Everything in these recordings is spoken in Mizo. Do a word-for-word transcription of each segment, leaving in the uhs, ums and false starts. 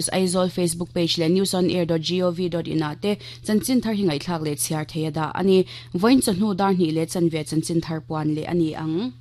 Aizawl Facebook page leh newsonair dot gov dot in ah te chanchin thar hi ngaihthlak leh chhiar thei a dah a ni. Vawiin chawhnu dar hnih leh chanve chanchin thar puan leh a ni ang.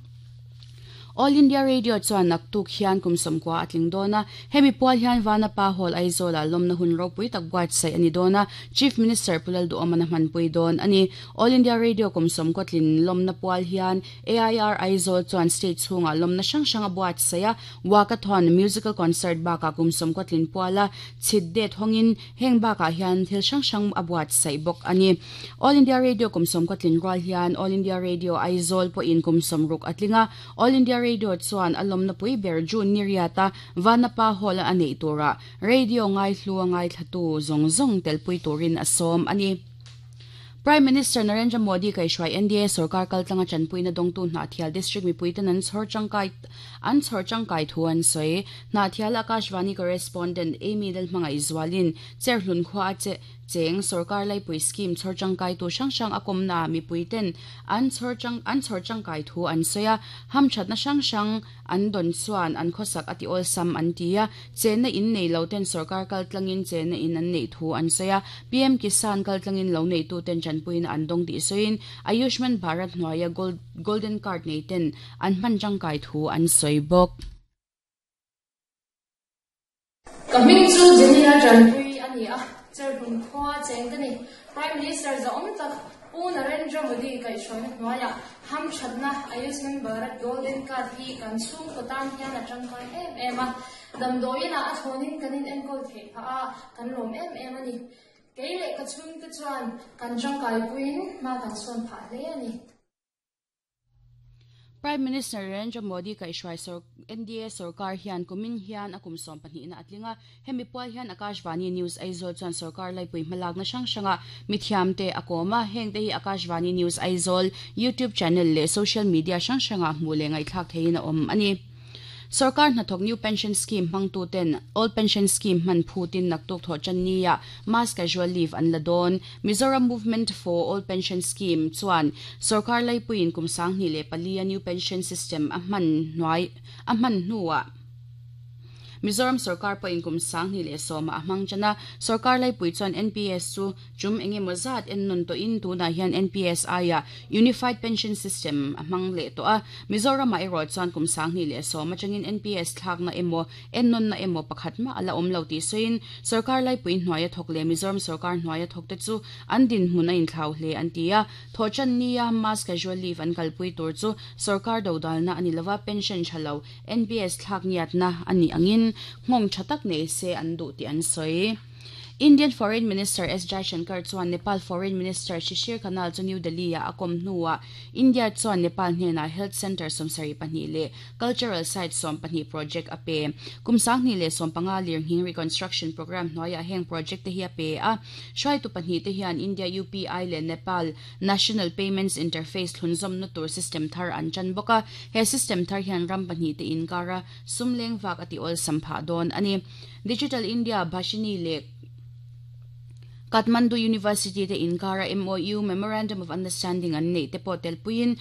All India Radio chuan naktuk hian kum sawmkua a tling dawn a, hemi pual hian Vanapa Hall Aizawlah lawmna hun ropui tak buatsaih a ni dawn a, Chief Minister Pu Lalduhawmana hmanpui dawn a ni. All India Radio kum sawmkua tlin lawmna pual hian A I R Aizawl chuan state chhungah lawmna hrang hrang a buatsaih a, walkathon, musical concert bakah kum sawmkua tlin puala chhit det hawngin heng bakah hian thil hrang hrang a buatsaih bawk a ni. All India Radio kum sawmkua tlin rual hian All India Radio Aizawl pawhin kum sawmruk a tling a, All India Radio Radio chuan a lawmna pui ber June ni riata Vanapa Hall a neih tura radio ngai hlu a ngaithlatu zawng zawng telpui turin a sawm a ni. Prime Minister Narendra Modi kaihhruai N D A sarkar kaltlanga chanpuina dawngtu Hnahthial District mipuiten an chhawr tangkai an chhawr tangkai thu an sawi. Hnahthial Akashvani correspondent Amy Lalhmangaih Zualin Cherhlun khua a che cheng sarkar laipui scheme chhawr tangkai tu hrang hrang a kawmna mipuiten an chhawr tang an chhawr tangkai thu an sawi a, hamthatna hrang hrang an dawn chuan an khawsak a ti awlsam an ti a, chenna in nei lo ten sarkar kaltlangin chenna in an nei thu an sawi a, P M Kisan kaltlangin lo nei tu ten chanpuina an dawng tih sawiin Ayushman Bharat hnuaia golden card nei ten an hman tangkai thu an sawi bawk. Ka hming chu Jenina Chanpui a ni a, Cherhlun khua cheng ka ni. Prime Minister zawm tak Pu Narendra Modi kaihhruaina hnuaia hamthatna Ayushman Bharat Golden Card hi kan chhung kawtan hian a tangkai em em a, damdawiin a thawnin kan in enkawl theih phah a, kan lawm em em a ni. Kei leh ka chhung te chuan kan tangkai puiin hma kan sawn phah hle a ni. Prime Minister Narendra Modi kaihhruai N D A sarkar hian kumin hian a kum sawm pahnihna a tling a, hemi pual hian Akashvani News Aizawl chuan sarkar laipui hmalakna hrang hranga mithiam te a kawm a, heng te hi Akashvani News Aizawl YouTube channel leh social media hrang hranga hmuh leh ngaihthlak theiin a awm a ni. Sarkar hnathawk New Pension Scheme hmangtu ten Old Pension Scheme hman phutin naktuk thaw channia mass casual leave an la dawn. Mizoram Movement for Old Pension Scheme chuan sarkar laipuiin kum sanghnih leh pali a New Pension System a hman hnuai a hman hnuah Mizoram sarkar pawhin kum sanghnih leh sawma a hmang chana sarkar laipui chuan N P S chu chum engemaw zat en nun tawhin tunah hian N P S I a Unified Pension System a hmang leh tawh a, Mizoram ah erawh chuan kum sanghnih leh sawma atangin N P S thlakna emaw en nunna emaw pakhat ma ala awm lo tih sawiin sarkar laipui hnuaia thawk leh Mizoram sarkar hnuaia thawk te chu an din hmun a inthlau hle an ti a, thaw channia mass casual leave an kalpui tur chu sarkar dodalna ani lova pension thalo N P S thlak ngiatna ani angin ngong thatak nei se an duh ti an sawi. Indian Foreign Minister S Jaishankar chuan Nepal Foreign Minister Shishir Khanal chu New Delhi a akom hnuah India chuan Nepal hnena Health Center sawmsarih pahnih leh Cultural Site sawm pahnih project a pe. Kum sanghnih leh sawm panga lirnghing reconstruction program hnuaiah heng project te hi a pe a, hruaitu pahnih te hian India U P I leh Nepal National Payments Interface thlunzawmna tur system thar an chan bawk a, he system thar hian ram pahnih te inkara sumleng vak a ti awlsam phah dawn a ni. Digital India Bhashini leh Kathmandu University te inkara M O U Memorandum of Understanding an nei te pawh telpuiin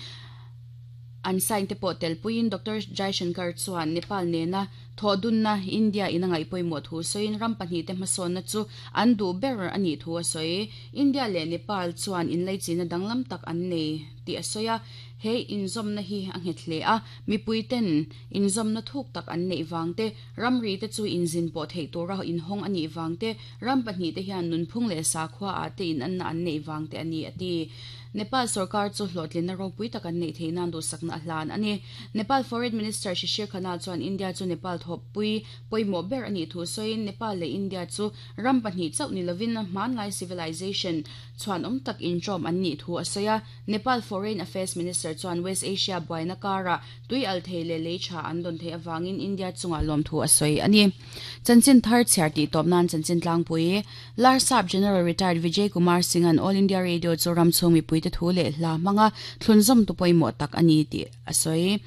an sign te pawh telpuiin Doctor Jaishankar chuan Nepal nena thaw dunna India ina ngaihpawimawh thu sawiin ram pahnih te hmasawnna chu an duh ber ani thu a sawi. India leh Nepal chuan inleichina danglam tak an nei tih a sawi a, he inzawmna hi a nghet hle a, mipui ten inzawmna thuk tak an neih wang te, ramri te chu inzin pawh theih tura inhawng ani wang te, ram pahnih te hian nunphung leh sakhua a te in anna an neih wang te ani a ti. Nepal sarkar chu hlawhtlinna ropui tak an neih theih nan duhsakna a hlan ani. Nepal Foreign Minister Shishir Khanal chuan India chu Nepal thawpui pawimawh ber ani thu sawiin Nepal leh India chu ram pahnih chauh ni lovin hmanlai civilization chuan awm tak intawm an nih thu a sawi a. Nepal Foreign Affairs Minister chuan West Asia buaina kara tui al thei leh lei tha an dawn thei awangin India chunga lawm thu a sawi ani. Chanchin thar chhiar tih tawp nan chanchin tlangpui Larsap General Retired Vijay Kumar Singh an All India Radio chu ram chhung mipui te thu leh hla hmanga thlunzawm tu pawimawh tak ani tih a sawi.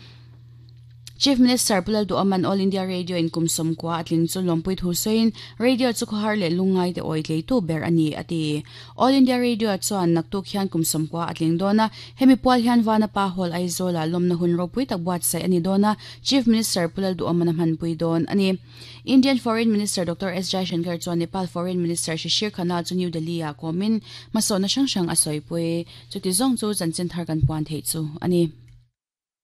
Chief Minister Pu Lalduhoma'n All India Radio in kum sawmkua a tling chu lawmpui thu sawiin radio chu khawhar leh lungngai te awi tleitu ber a ni a ti. All India Radio chuan naktuk hian kum sawmkua a tling dawn a, hemi pual hian Vanapa Hall Aizawlah lawmna hun ropui tak buatsaih a ni dawn a, Chief Minister Pu Lalduhoma'n a hmanpui dawn a ni. Indian Foreign Minister Doctor S Jaishankar chuan Nepal Foreign Minister Shishir Khanal chu New Delhi ah kawmin hmasawnna hrang hrang a sawipui. Chuti zawng chu chanchin thar kan puan theih chu a ni.